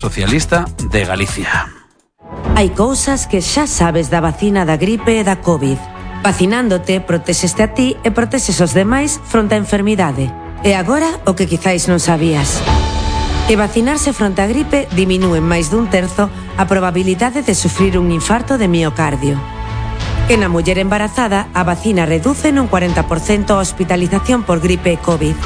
Socialista de Galicia. Hai cousas que xa sabes da vacina da gripe e da COVID. Vacinándote, protexeste a ti e protexes os demais fronte á enfermidade. E agora, o que quizáis non sabías. Que vacinarse fronte á gripe diminúe en máis dun terzo a probabilidade de sufrir un infarto de miocardio. Que na muller embarazada a vacina reduce nun 40% a hospitalización por gripe e COVID.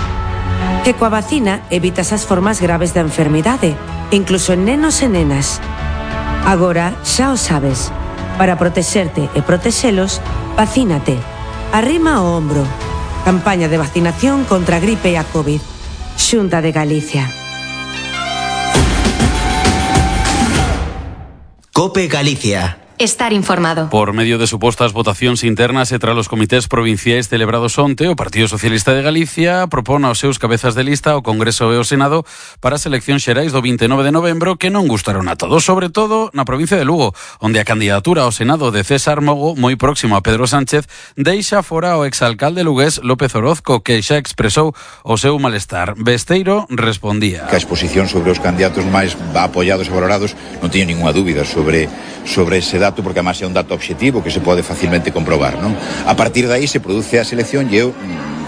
Que coa vacina evitas as formas graves da enfermidade, incluso en nenos e nenas. Agora xa o sabes. Para protexerte e protexelos, vacínate. Arrima o ombro. Campaña de vacinación contra a gripe e a COVID. Xunta de Galicia. COPE Galicia. Estar informado. Por medio de supostas votacións internas e tras os comités provinciais celebrados onte, o Partido Socialista de Galicia propón aos seus cabezas de lista ao Congreso e ao Senado para as eleccións xerais do 29 de novembro que non gustaron a todos, sobre todo na provincia de Lugo, onde a candidatura ao Senado de César Mogo, moi próximo a Pedro Sánchez, deixa fora o exalcalde lugués López Orozco, que xa expresou o seu malestar. Besteiro respondía. Que a exposición sobre os candidatos máis apoiados e valorados non teño ninguna dúbida sobre ese dato, porque además é un dato obxectivo que se pode facilmente comprobar, non? A partir de aí se produce a selección e eu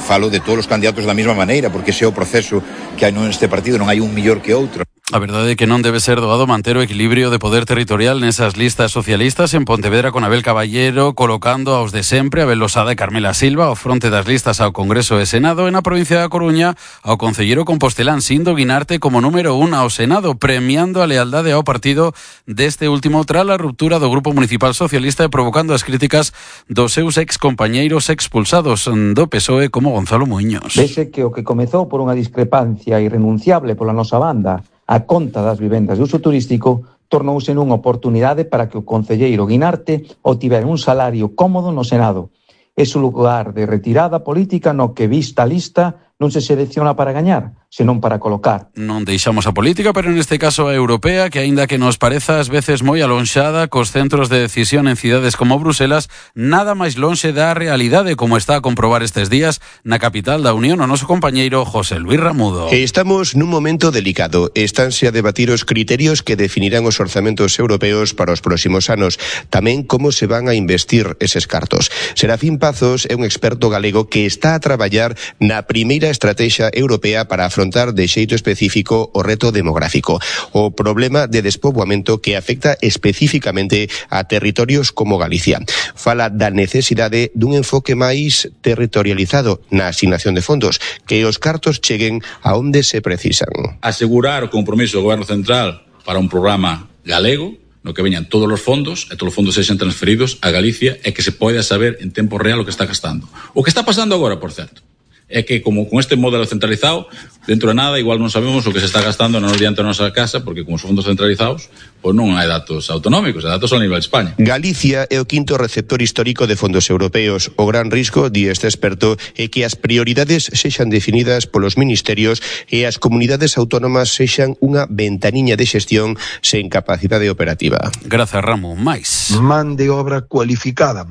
falo de todos os candidatos da mesma maneira, porque ese é o proceso que hai neste partido, non hai un mellor que outro. A verdade é que non debe ser doado manter o equilibrio de poder territorial nesas listas socialistas. En Pontevedra, con Abel Caballero colocando aos de sempre, Abel Losada e Carmela Silva ao fronte das listas ao Congreso e Senado. En a provincia da Coruña, ao concelleiro compostelán Sindo Guinarte como número 1 ao Senado, premiando a lealdade ao partido deste último tras a ruptura do Grupo Municipal Socialista e provocando as críticas dos seus excompañeiros expulsados do PSOE como Gonzalo Muiños. Vese que o que comezou por unha discrepancia irrenunciable pola nosa banda a conta das vivendas de uso turístico tornouse nunha oportunidade para que o concelleiro Guinarte obtivera un salario cómodo no Senado. É o lugar de retirada política no que vista a lista non se selecciona para gañar, senón para colocar. Non deixamos a política, pero neste caso a europea, que aínda que nos pareza ás veces moi alonxada cos centros de decisión en cidades como Bruselas, nada máis lonxe da realidade, como está a comprobar estes días na capital da Unión o noso compañeiro José Luis Ramudo. Estamos nun momento delicado. Estanse a debatir os criterios que definirán os orzamentos europeos para os próximos anos, tamén como se van a investir eses cartos. Serafín Pazos é un experto galego que está a traballar na primeira estrategia europea para afrontar de xeito específico o reto demográfico, o problema de despoboamento que afecta especificamente a territorios como Galicia. Fala da necesidade dun enfoque máis territorializado na asignación de fondos, que os cartos cheguen a onde se precisan. Asegurar o compromiso do Goberno Central para un programa galego, no que veñan todos os fondos e todos os fondos sexan transferidos a Galicia e que se poida saber en tempo real o que está gastando. O que está pasando agora, por certo, é que como con este modelo centralizado, dentro de nada igual non sabemos o que se está gastando non diante da nosa casa, porque como son fondos centralizados, pois non hai datos autonómicos, hai datos a nivel de España. Galicia é o quinto receptor histórico de fondos europeos. O gran risco, di este experto, é que as prioridades sexan definidas polos ministerios e as comunidades autónomas sexan unha ventaniña de xestión sen capacidade operativa. Grazas, Ramo. Mais. Man de obra cualificada,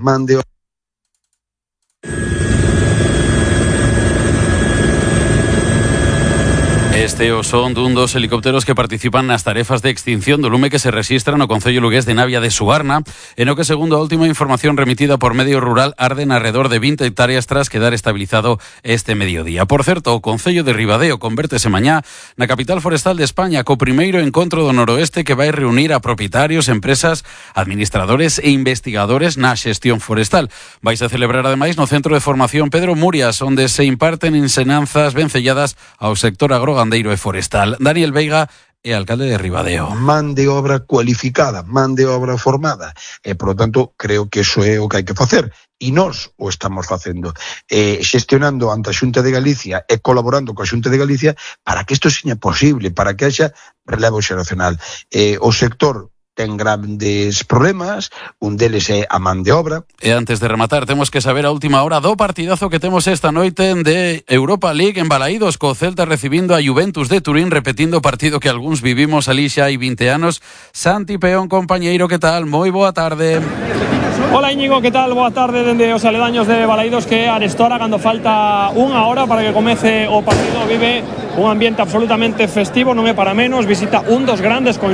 Este o son dun dos helicópteros que participan nas tarefas de extinción do lume que se rexistra no concello lugués de Navia de Suarna, e no que, segundo a última información remitida por Medio Rural, arden alrededor de 20 hectáreas tras quedar estabilizado este mediodía. Por certo, o concello de Ribadeo convértese mañá na capital forestal de España, co primeiro encontro do noroeste que vai reunir a propietarios, empresas, administradores e investigadores na xestión forestal. Vais a celebrar ademais no Centro de Formación Pedro Murias, onde se imparten ensinanzas vencelladas ao sector agrogandeiro e forestal. Daniel Veiga é alcalde de Ribadeo. Man de obra cualificada, man de obra formada. E, por lo tanto, creo que iso é o que hai que facer. E nós o estamos facendo. Xestionando ante a Xunta de Galicia e colaborando coa Xunta de Galicia para que isto seña posible, para que haxa relevo xeracional. O sector ten grandes problemas, un deles é a man de obra. E antes de rematar, temos que saber a última hora do partidazo que temos esta noite de Europa League en Balaídos, co Celta recibindo a Juventus de Turín, repetindo o partido que algúns vivimos ali xa hai 20 anos. Santi Peón, compañeiro, que tal? Moi boa tarde. Hola Íñigo, que tal? Boa tarde dende os aledaños de Balaidos, que arestora cando falta unha hora para que comece o partido. Vive un ambiente absolutamente festivo, non é para menos. Visita un dos grandes